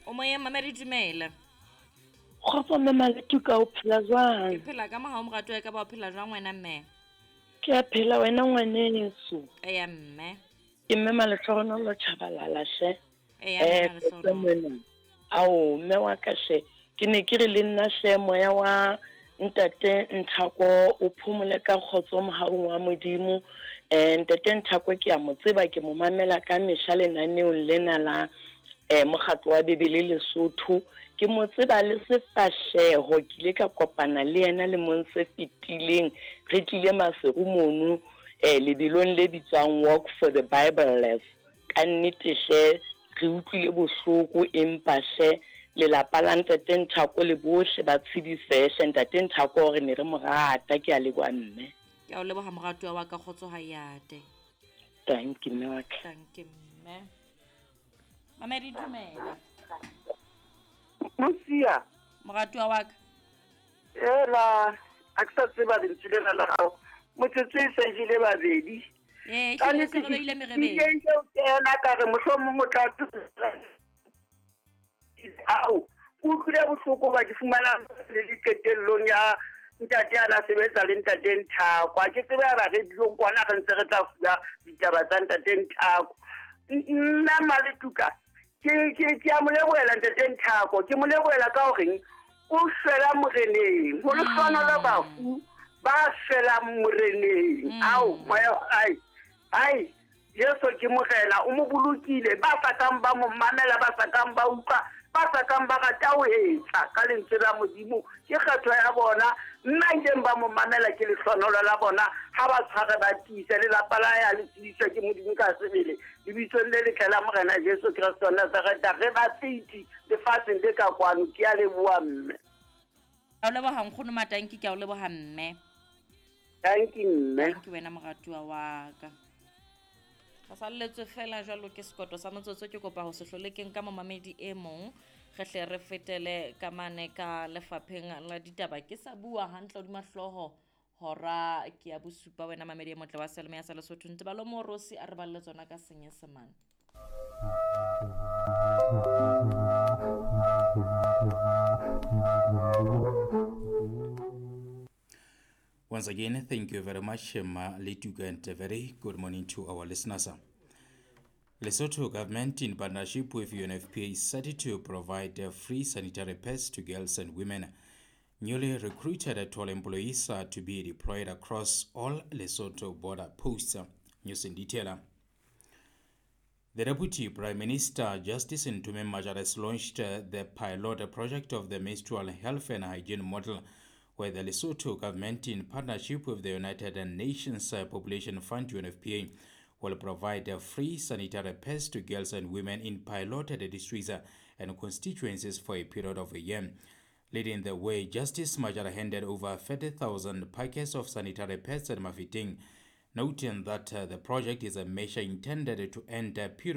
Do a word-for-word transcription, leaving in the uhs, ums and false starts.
O moyeng mamedi, dumela. Kgotso mme Maletuka, o phela Ke jwang? phela ka mohau moratuwa e ka ba o phela jwang wena mme? Ke a phela wena ngwaneso. Eya mme. Ke mme Malehlohonolo Chabalala hle. Eya Eh, mme kgotso Malehlohonolo. mona. Ao mme wa ka hle. Ke ne ke re le nna hle moya wa ntate Nthako o phomole ka kgotso mohaung wa Modimo. Eh, ntate Nthako ke a mo tseba, ke mo mamela ka mehla lenaneong lena la eh mokgatlo wa Bebele Lesotho. Ke mo tseba le sefahleho, ke ile ka kopana le yena lemong se fetileng. Re tlile Maseru mono eh lebelong le bitswang Walk for the Bibleless. Ka nnete hle re utlwile bohloko, empa hle lelapa la ntate Nthako le bohle ba tshedisehe hle. Ntate Nthako re ne re mo rata. Ke a leboha mme. Ke a o leboha moratuwa wa ka, kgotso ha yate. Thank you mme wa ka. Thank you mme. Mamedi, dumela. Mosia. Moratuwa wa ka. Ela, a ke sa tseba lentswe lena la gago. Motsotso e sa jele babedi. Ee, Ka ehlile nnete se re ke beile merebeng. ke ke o kena ka re mohlomong o tla ao o utlwile bohloko ba ke fumana le le qetellong ya ntate a na sebetsa le ntate Nthako. Ha ke tsebe ya ba radiong kwana re ntse re tla fuwa ditaba tsa ntate Nthako. Nna Maletuka ke ke ke a mo lebohela ntate Nthako, ke mo lebohela ka horeng o shwela moreneng, ho lehlohonolo bafu ba shwelang moreneng. Ao moya ai ai Jesu ke morena, o mo bolokile, ba sa kang ba mo mamela, ba sa kang ba utlwa, ba sa kang ba rata ho etsa ka lentswe la Modimo, ke kgetho ya bona. Nna ileng ba mo mamela ke lehlohonolo la bona, ha ba tshware ba tiise lelapa la ya le tsebiswe ke Modimo ka sebele. Lebitsong le letle la Morena Jesu Kreste wa Nazareta, re ba feiti lefatsheng le ka kwano. Ke a leboha mme. Ke a o leboha nkgono Matanki, ke a o leboha mme. Thank you mme. Thank you wena moratuwa wa ka. Re salletswe fela jwalo ke sekoto sa motsotso, ke kopa ho se hlole ke nka momamedi e mong, re hle re fetele ka mane ka lefapheng la ditaba. Ke sa bua hantle hodima hlooho hora ke ya bosupa wena mamedi e motle wa Selemo ya sa Lesotho. Ntebalo Morosi a re balle tsona ka Senyesemane. Once again, thank you very much, Ma Letuka, and a very good morning to our listeners. Lesotho government, in partnership with U N F P A, is set to provide free sanitary pads to girls and women. Newly recruited toll employees are to be deployed across all Lesotho border posts. News in detail. The Deputy Prime Minister, Justice Ntume Majara, has launched the pilot project of the menstrual health and hygiene model, where the Lesotho government, in partnership with the United Nations Population Fund, U N F P A, will provide free sanitary pads to girls and women in piloted districts and constituencies for a period of a year. Leading the way, Justice Majara handed over thirty thousand packets of sanitary pads at Mafeteng, noting that the project is a measure intended to end a period